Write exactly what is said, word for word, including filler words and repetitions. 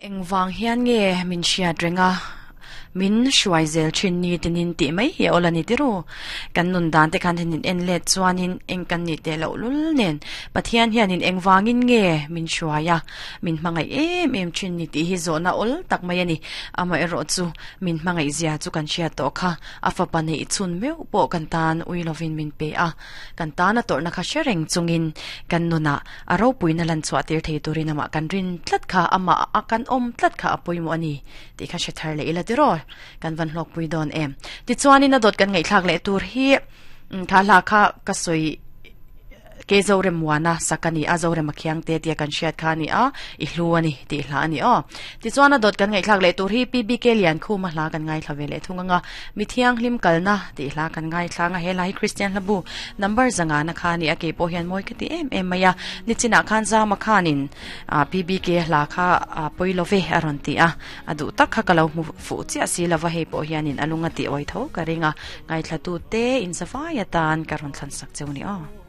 Engvang hian nge min hriat reng a, min hruai zel thin ni tinin tih mai hi a awl a ni tiru. Kan nun dan te khan hianin en let chuanin eng kan nih teh loh lul nen Pathian hianin engvangin nge min hruai a, min hmangaih em em thin ni tih hi zawhna awl tak mai a ni. Amaherawh chu min hmangaih zia chu kan hriat tawh kha, a fapa neih chhun meuh pawh kan tan ui lovin min pe a, kan tana tawrhna kha hre reng chungin kan nunah a ropuina lan chhuah tir thei turin amah kan rin tlat kha, amah a kan awm tlat kha a pawimawh a ni tih kha hre thar leh ila tiraw kan van hlawkpui dawn em. Tichuanin a dawt kan ngaihthlak leh tur hi kha hla kha ka sawi ke Zoremuana sak a ni a, Zorema Khiangte tia kan hriat kha a ni a, i hlu a ni tih hla a ni aw. Tichuan a dawt kan ngaihthlak leh tur hi P B K Liankhuma hla kan ngaithla ve leh thung anga, Mi Thianghlim Kalna tih hla kan ngaithla anga, he hla hi Kristian hlabu number zangana kha a ni a, kei pawh hian mawi ka ti em em mai a. Nichinah khan Zama khanin P B K hla kha pawi lo ve a rawn ti a, a duh tak kha ka lo hmu fuh chiah si lova, hei pawh hianin a lunga tih awi tho ka ring a, ngaithla tute in zavai atan ka rawn thlan sak cheu ni aw.